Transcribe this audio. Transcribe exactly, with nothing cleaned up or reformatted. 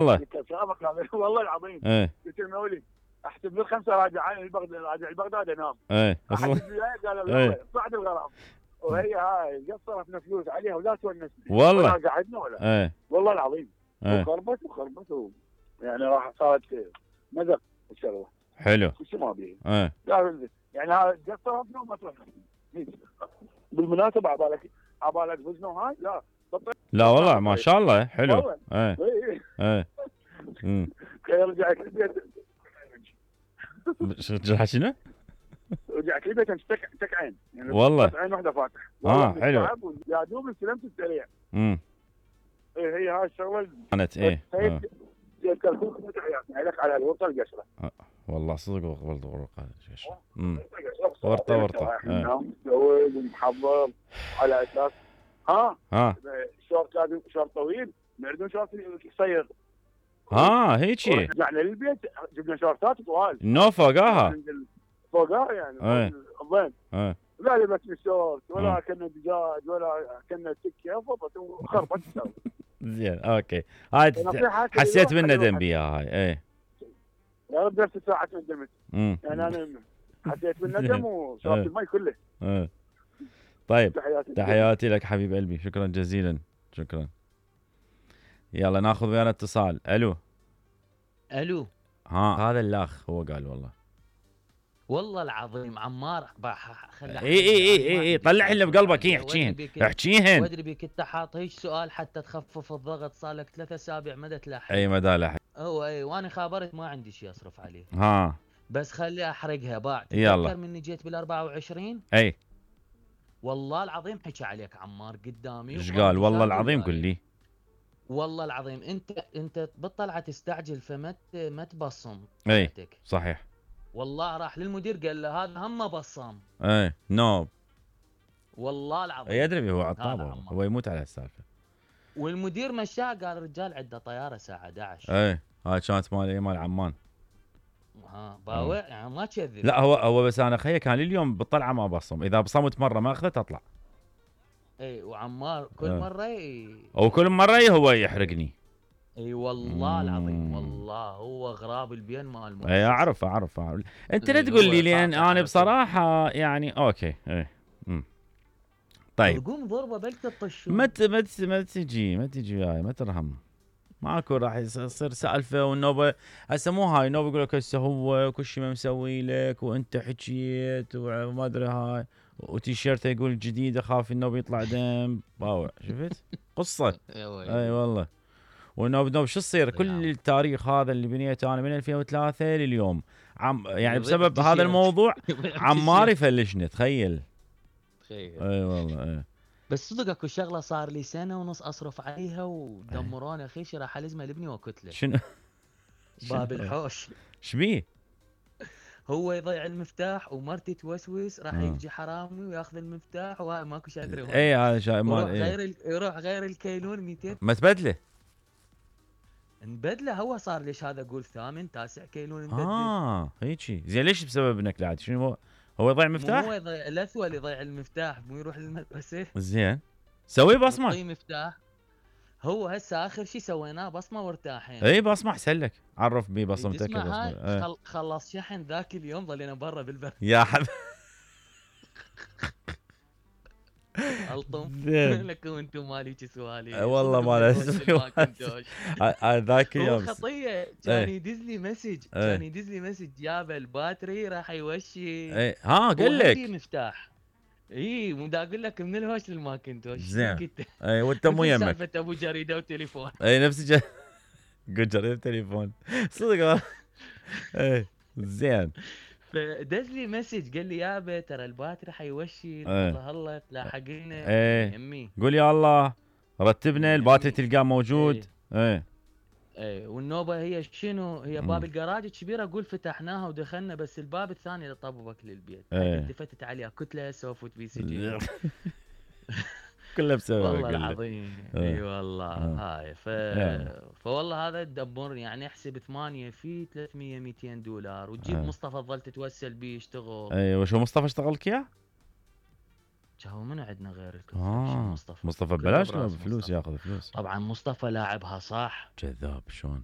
والله قلت له سلامك يا والله العظيم. ايه قلت له مولي احسب لي الخمسه راجع البغداد، راجع البغداد انام. ايه احسب لي قال ايه يلا صعد الغرام. وهي هاي قد صرفنا فلوس عليها ولا تونسنا والله ولا قعدنا ولا. ايه والله العظيم. ايه وخربت وخربت و... يعني راح صارت مذق الشغله. حلو شو ما بيه. ايه لا يعني هذا قد صرفنا وما صرفنا. بالمناسبه عبالك عبالك فزنا هاي لا بطل. لا والله ما شاء الله حلو. والله ايه ايه ايه امم رجعت البيت. رجعت شنو؟ رجعت البيت تك تك عين يعني والله عين واحده فاتح. اه حلو. يا دوب استلمت السريع. امم ايه هي هاي الشغله كانت ايه آه. الكركوك عليك على الورطه القشره. آه. والله صدق قبل ورقه القشره. امم ورطه ورطه اه متزوج ومحضر على اساس ها ها شورت لازم شورت طويل ما يردون شورت قصير. ها هيجي رجعنا للبيت جبنا شورتات طوال نو فوقاها فوقاها يعني ايه الضين. ايه لا لبسنا شورت ولا كنا دجاج ولا كنا سكه فضت وخربت الشغله. زين اوكي هاي حسيت بالندم بيها هاي ايه يا رب نفس الساعه ندمت. امم يعني انا حسيت بالندم وشربت المي كله. ايه طيب تحياتي تحياتي لك حبيب قلبي شكرا جزيلا شكرا. يلا ناخذ ويانا اتصال. الو الو ها هذا الاخ هو قال والله والله العظيم عمار خلي اي اي اي اي طلع اللي بقلبك ايه احكيهن احكيهن وادري بك انت حاط هيك سؤال حتى تخفف الضغط صار لك ثلاث اسابيع ما تلاحق. اي ما لاحق هو اي وانا خابرت ما عندي شيء اصرف عليه. ها بس خلي احرقها بعد. يلا تذكر مني جيت بال أربعة وعشرين اي والله العظيم حكى عليك عمار قدامي. ايش قال؟ والله العظيم قل لي. والله العظيم انت انت بالطلعه تستعجل فما ما تبصم. اي صحيح. والله راح للمدير قال له هذا هم بصام. اي نو والله العظيم يدري هو عطابه هو يموت على هالسالفه. والمدير مشاه قال الرجال عنده طياره الساعه احد عشر. اي هاي كانت مال مال عمان. ها باوع يعني ما تكذب. لا هو هو بس انا خيي كان اليوم بالطلعه ما بصم اذا بصمت مره ما اخذت اطلع. اي وعمار كل أه. مره ي... او كل مره هو يحرقني. اي والله مم. العظيم والله هو غراب البين مال المؤسسه. اي اعرف اعرف, أعرف. انت لا تقول لي لان انا بصراحه يعني اوكي اي امم طيب قوم ضربه بلك الطشون. ما ما ما تجي ما تجي وياي ما ترهم ماكو راح يصير سالفه والنوبه هسه مو هاي النوبه يقول لك هسه هو كل شيء ما مسوي لك وانت حكيت وما ادري هاي وتيشيرته يقول جديد اخاف النوبه يطلع دم باوع شفت قصه. اي والله والنوب نوب شو تصير كل التاريخ هذا اللي بنيته انا من ألفين وثلاثة لليوم عم يعني بسبب هذا الموضوع عمار يفلشني تخيل. تخيل اي والله اي بس صدق اكو شغله صار لي سنه ونص اصرف عليها ودمروني اخي شي راح الزمه لابني وكتله. شنو؟ باب الحوش. شبيه؟ هو يضيع المفتاح ومرتي توسوس راح يجي حرامي وياخذ المفتاح وهاي ماكو شيء ادري. اي هذا شيء مال يروح غير ال... يروح غير الكيلون مئتين ما تبدله نبدله. هو صار ليش هذا اقول ثامن تاسع كيلون نبدله. اه هيجي زين ليش بسبب انك لا شنو هو هو يضيع مفتاح؟ هو يضيع الاثول يضيع المفتاح مو يروح للمدرسه. زين سوي بصمه. يعطيه مفتاح. هو هسه اخر شيء سويناه بصمه وارتاحين. اي بصمه احسن لك عرف بي بصمتك بصمه. خل... خلص شحن ذاك اليوم ظلينا برا بالبر يا حبيبي. الطم لكم انتم مالي سوالي والله ما اسمي ذاك اليوم خطيه كان يدز لي مسج كان يدز لي مسج جاب الباتري راح يوشي. اي ها قال لك مفتاح. اي مو دا اقول لك من الهوش للماكنتوش. زين اي وانت مو يمك سالفه ابو جريده وتليفون. اي نفس ج... قلت جريده تليفون صدق. اي زين فدز لي مسج قال لي يابا ترى الباتري حيوشي الله الله تلاحقنا. ايه يمي قول يا الله رتبنا الباتري تلقاه موجود. ايه ايه والنوبه هي شنو هي باب الجراج كبيره اقول فتحناها ودخلنا بس الباب الثاني اللي طببك للبيت. ايه التفتت عليها كتله سوفت بي سي جي كله بسبب والله العظيم. اي والله هاي ف... فوالله هذا الدبر يعني احسب ثمانية في ثلاثمية مئتين دولار وتجيب آه. مصطفى ظل تتوسل بيه يشتغل. اي وشو مصطفى اشتغل لك اياه؟ هو من عندنا غير آه. مصطفى مصطفى ببلاش ولا بفلوس؟ ياخذ فلوس طبعا. مصطفى لاعبها صح كذاب شلون